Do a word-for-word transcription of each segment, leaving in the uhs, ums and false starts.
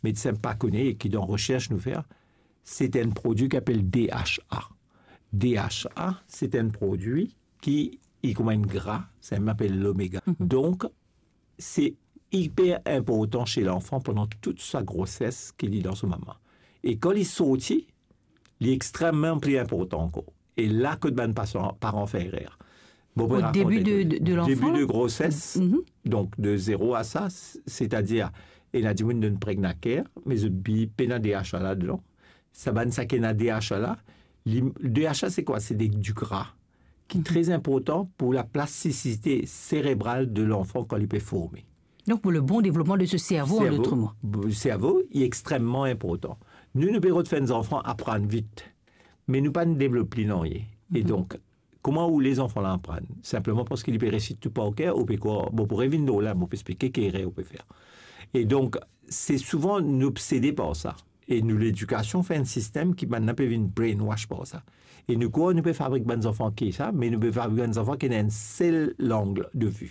medsin pa kone e ki dan resers nou fer, se enn prodwi ki apel D H A. D H A, se enn prodwi ki, li kouma enn gra, sa mem apel lomega. Mhm. Donk, se iper inportan se lanfan pandan tou sa groses ki li dan so mama. E kan li sorti, li extrememan pli inportan ankor. E la kot bann pasan, paran fer erer. Bon, Au début de, de, de l'enfant, debi la? De groses, Mhm. donk de zero a sa, s-, setadir, ena dimoun donn Pregnacare, me zot bi pena D H A ladan. Sa bann sa ki ena D H A la, li, D H A se kwa? Se de, du gra, ki Mhm. tre inportan pou laplastisite serebral de lanfan kan li pe forme. Donc, pour le bon développement de ce cerveau, en Servo, d'autres mots. Servo, li extrememan inportan. Nou, nou pe rod fer zanfan aprann vit, me nou pa devlop li nanye. E Mhm. donk, kouma ou les zanfan la aprann? Sinpleman parski li pe resit tou par ker, ou pe krwar, bon, pou revinn lor la, mo pe explike ki erer ou pe fer. E donk, se souvan nou obsede par sa. E nou ledikasion fer enn sistem ki bann la pe vinn brainwash par sa. E nou krwar nou pe fabrik bann zanfan ki sa, me nou pe fabrik bann zanfan ki ena enn sel lang de vi.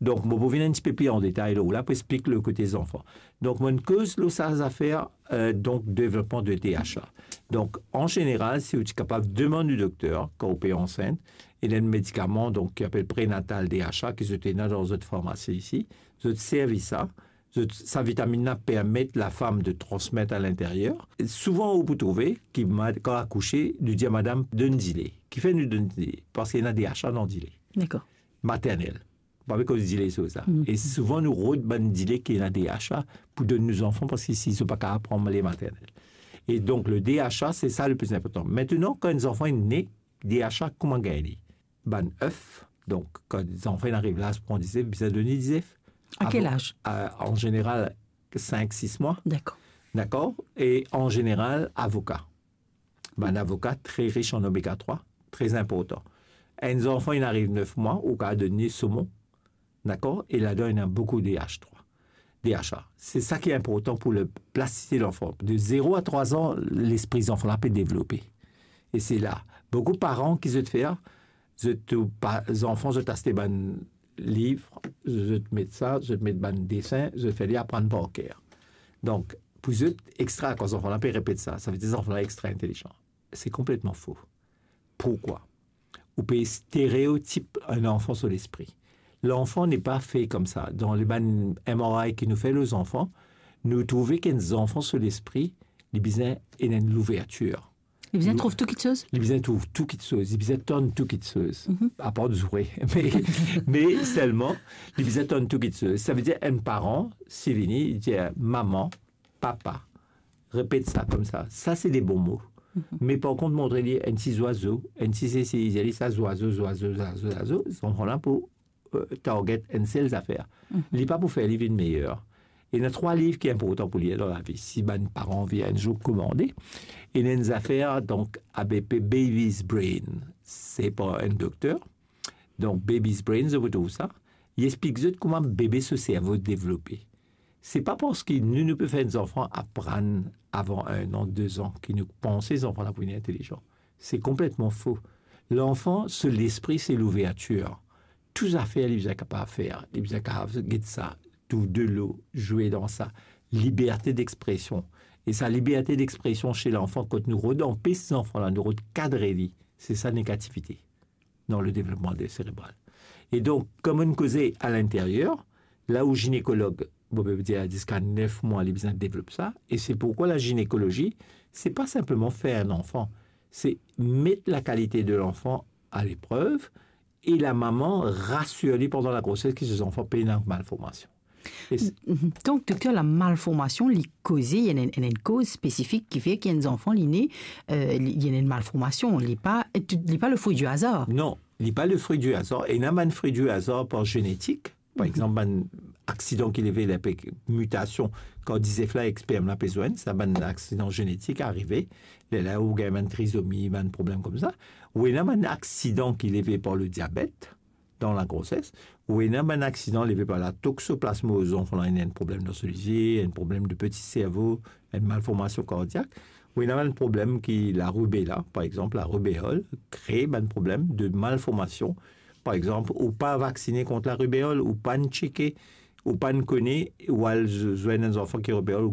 Donk, mo pou vinn enn tipe pli an detay lor la pou explik le kote zanfan. Donk, mo koz lor sa zafer, euh, donk, devlopman de D H A. Donk, an zeneral, si ou ti kapav demann ou dokter, kan ou pe ansint, ena enn medikaman, donk, ki apel Prenatal D H A, ki zot ena dan zot farmasi isi, zot servi sa, zot, sa vitaminn la permet lafam de transmet a linteryer. Souvan, ou pou trouve ki ma-, kan akouse, nou dir madam, donn dile. Kifer nou donn dile? Parski ena D H A dan dile. Dakor. Maternel. Pa pe koz dile so sa. Mm. E souvan nou rod bann dile ki ena D H A pou donn nou zanfan, parski si zot pa kapav pran le maternel. E donk, le D H A, se sa le pli inportan. Aster, kan enn zanfan inn ne, D H A kouma gagn li? Bann ef, donk, kan zanfan inn ariv laz pou pran dizef, bizin donn li dizef. A kel Avan-, laz? A, an zeneral, sink, sis mwa. Dakor. Dakor? E an zeneral, avoka. Bann avoka tre ris an omega trwa, tre inportan. Enn zanfan inn ariv nef mwa, ou kapav donn li somon. Dakor? E ladan, ena boukou D H trwa, D H A. Se sa ki inportan pou le plastisite lanfan. De zero a trwa an, lespri zanfan la pe devlope. E se la, boukou paran ki zot fer, zot tou pa, zanfan, zot aste bann liv, zot met sa, zot met bann desin, zot fer li aprann par ker. Donk, pou zot, extra, kan zanfan la pe repet sa, savedir zanfan la extra intelizan. Se konpletman fo. Pourkwa? Ou pe stereotip enn zanfan so lespri. Lanfan n'est pas fait comme ça. Dan le bann M R I ki nou fer lor zanfan, nou trouve ki enn zanfan so lespri, li bizin ena enn louvertir. Li bizin trouv tou kitsoz? Li bizin trouv tou kitsoz, li bizin tann tou kitsoz. Mhm. Apar zoure. Me, me selman, li bizin tann tou kitsoz. Savedir enn paran, si vini, li dir, "Mama, papa, repet sa koumsa." Sa, se de bon mo. Mhm. Me par kont, montre li enn ti zwazo, enn ti sesi, dir li sa, "Zwazo, zwazo, zwazo, zwazo." Zanfan la pou, euh, target enn sel zafer. Mhm. Li pa pou fer li vinn meyer. Ena trwa liv ki inportan pou lir dan lavi, si bann paran anvi enn zour komande. Ena enn zafer, donk, A B P, Baby's Brain. Se par enn dokter. Donk, Baby's Brain, zot pou trouv sa. Li explik zot kouma bebe so servo devlope. Se pa parski nou, nou pe fer zanfan aprann avan enn an, de zan, ki nou panse zanfan la pou vinn intelizan. Se konpletman fo. Lanfan, so lespri, se louvertir. Tou zafer li bizin kapav fer. Li bizin kapav get sa, trouv delo, zwe dan sa. Liberte d'expresion. E sa liberte d'expresion se lanfan, kot nou rod anpes zanfan la, nou rod kadre li, se sa negativite dan le devlopman de serebral. E donk, kouma nou koze a linteryer, la ou ginekolog, bon, pe dir ziska nef mwa, li bizin devlop sa, e se pourkwa la ginekolozi, se pa sinpleman fer enn zanfan, se met lakalite de lanfan a leprev, e lamama rasir li pandan lagroses ki so zanfan pena malformasion. E s- Mhm. Donk, dokter, lamalformasion, li koze, li ena enn, enn, enn koz spesifik ki fer ki enn zanfan, li ne, euh, li, li ena enn malformasion, li pa, li pa le fruit du hasard. Non, li pa le fruit du hasard. Ena bann fruit du hasard par genetik. Par Mhm. exanp, bann aksidan ki leve, les mutations, kan dizef la ek sperm la pe zwenn, sa bann aksidan genetik arive, lerla ou gagn bann trizomi, bann problem koumsa. Ou ena bann aksidan ki leve par le diabet, dan lagroses, ou ena bann aksidan leve par la toxoplasmose, zanfan la ena enn problem dan so lizie, enn problem de peti servo, enn malformasion kardiak, ou ena bann problem ki larubela, par exanp, larubeol, kree bann problem de malformasion. Par exanp, ou pa vaksine kont larubeol, ou pa'nn tcheke, ou pa'nn kone, ou al z-, zwenn enn zanfan ki rubeol,